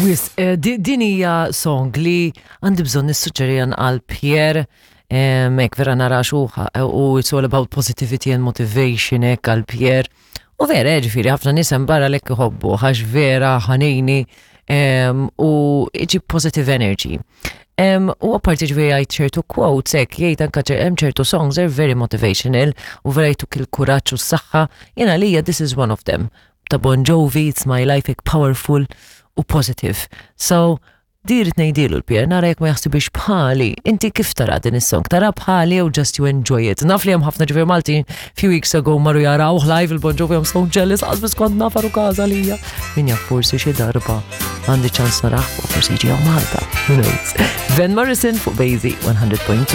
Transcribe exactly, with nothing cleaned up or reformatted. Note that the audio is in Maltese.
Wisq, eh, di- din hija song li għandi bżonn nissuġġerija għal Pierre. Mek vera nara xuħa u it's all about positivity and motivation, ek għal Pierre. U vera, ġifieri, ħafna nies hemm barra lek iħobbu, għax vera ħanini em, u iġib positive energy. Um, u apparti, ġifieri, għajt ċertu quotes, ek, jgħid anka ċer- hemm ċertu songs are very motivational u vera jtuk il-kuraġġ u s-saħħa. Jena lija this is one of them. Ta' Bon Jovi, "It's My Life", ek powerful u positive. So, dirit ngħidilu l-Pierre, nara jekk ma jaħsibix bħali. Inti kif tara din is-song? Tara bħali u just you enjoy it? Naf li hemm ħafna, ġifieri, Malti few weeks ago marru jaraw live il-Bon Jovi. I'm so jealous, għax biss kont naf għarukaża lija. Min jaf, forsi xi darba għandi ċans narah u forsi jiġi hawn Malta. Who knows? Van Morrison fuq Basie one hundred point two.